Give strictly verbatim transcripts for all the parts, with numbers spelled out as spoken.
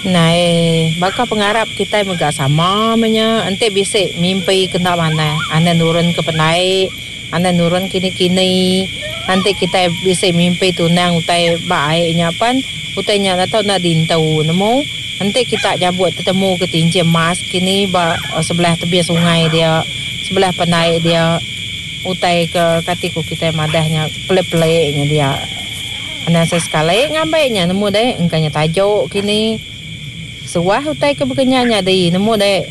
Nai, baka pengarap kitai mega sama meh nya enti bisi mimpi ke enda manah anang nurun ke pendai anang nurun kini-kini enti kitai bisi mimpi tunang utai ba ai nya pan utai nya enda tau enda diintu nemu enti kita nyabut tetemu ke tinchin emas kini ba sebelah tebing sungai dia sebelah pendai dia utai ke kati ku kitai madah nya pelik-pelik nya dia. Anang sesekali ngambi nya nemu deh engka nya tajuk kini. Suah utai ke baka nya nyadi nemu deh.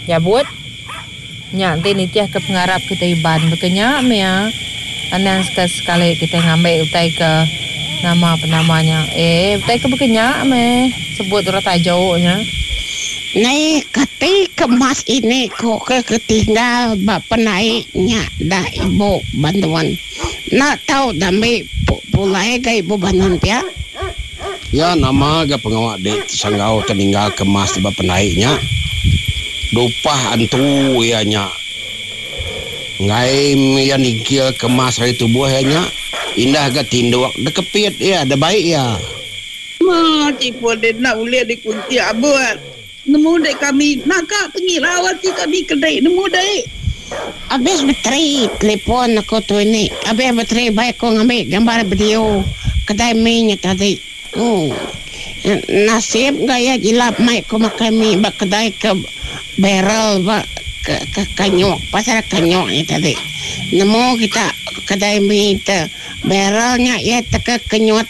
Jabut nya enti nitih ke pengarap kitai Iban baka nya meh iya. Anang sekali-sekali kitai ngambi utai ke nama penama nya. Eh utai ke baka nya meh sebut orang tajuk nya. Nai kati ke emas ini ko ke ketinggal ba penai nya da ibu Bandun. Enda tau dambi pulai ga ibu Bandun pia. Ya nama ga pengawa dek sanggau teninggal ke emas ba penai nya. Dupah antu iya nya. Enggai iya ningkil ke emas ari tubuh iya nya. Indah ga tinduk dekepit iya debai iya. Ma telefon dek enda ulih dikuntik abut. Nemu dek kami naka pengirau ati kami ke dek nemu dek. Abis bateri telefon aku tu ini. Abis bateri bai aku ngambi gambar video kedai mi nya tadi. Ooh. Nasib ga iya jilap mai ku makai mi ba kedai ke barrel ba ke kanyuk pasal kanyuk nya tadi. Nemu kita kedai mi te barrel nya iya teka kenyut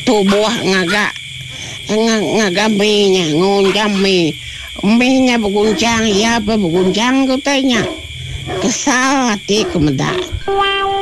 tubuh ngaga ngaga mi nya ngunjam mi. Mi nya begunchang iya pun begunchang ke utai nya. Kesal ati ku meda.